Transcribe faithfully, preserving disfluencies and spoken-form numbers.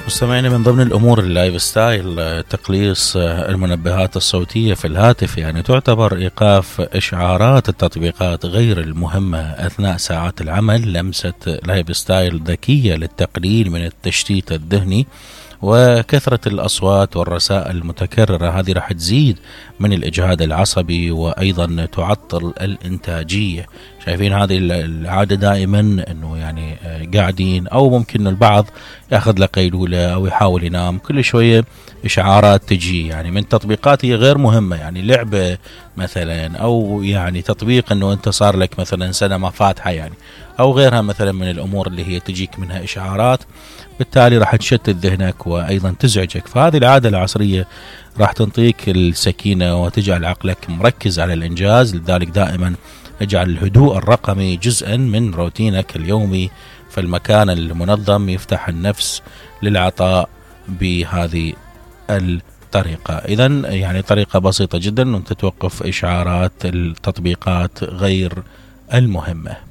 مستمعينا، من ضمن الأمور اللايف ستايل تقليص المنبهات الصوتية في الهاتف، يعني تعتبر إيقاف إشعارات التطبيقات غير المهمة أثناء ساعات العمل لمسة لايف ستايل ذكية للتقليل من التشتيت الذهني. وكثرة الأصوات والرسائل المتكررة هذه راح تزيد من الإجهاد العصبي وأيضا تعطل الإنتاجية. شايفين هذه العادة دائما أنه يعني قاعدين، أو ممكن البعض يأخذ له قيلولة أو يحاول ينام، كل شوية إشعارات تجي يعني من تطبيقات هي غير مهمة، يعني لعبة مثلا، أو يعني تطبيق أنه أنت صار لك مثلا سنة ما فاتحة يعني، أو غيرها مثلا من الأمور اللي هي تجيك منها إشعارات، بالتالي راح تشتت ذهنك وأيضا تزعجك. فهذه العادة العصرية راح تنطيك السكينة وتجعل عقلك مركز على الإنجاز. لذلك دائما اجعل الهدوء الرقمي جزءا من روتينك اليومي، فالمكان المنظم يفتح النفس للعطاء بهذه الطريقة. إذن يعني طريقة بسيطة جدا أن تتوقف إشعارات التطبيقات غير المهمة.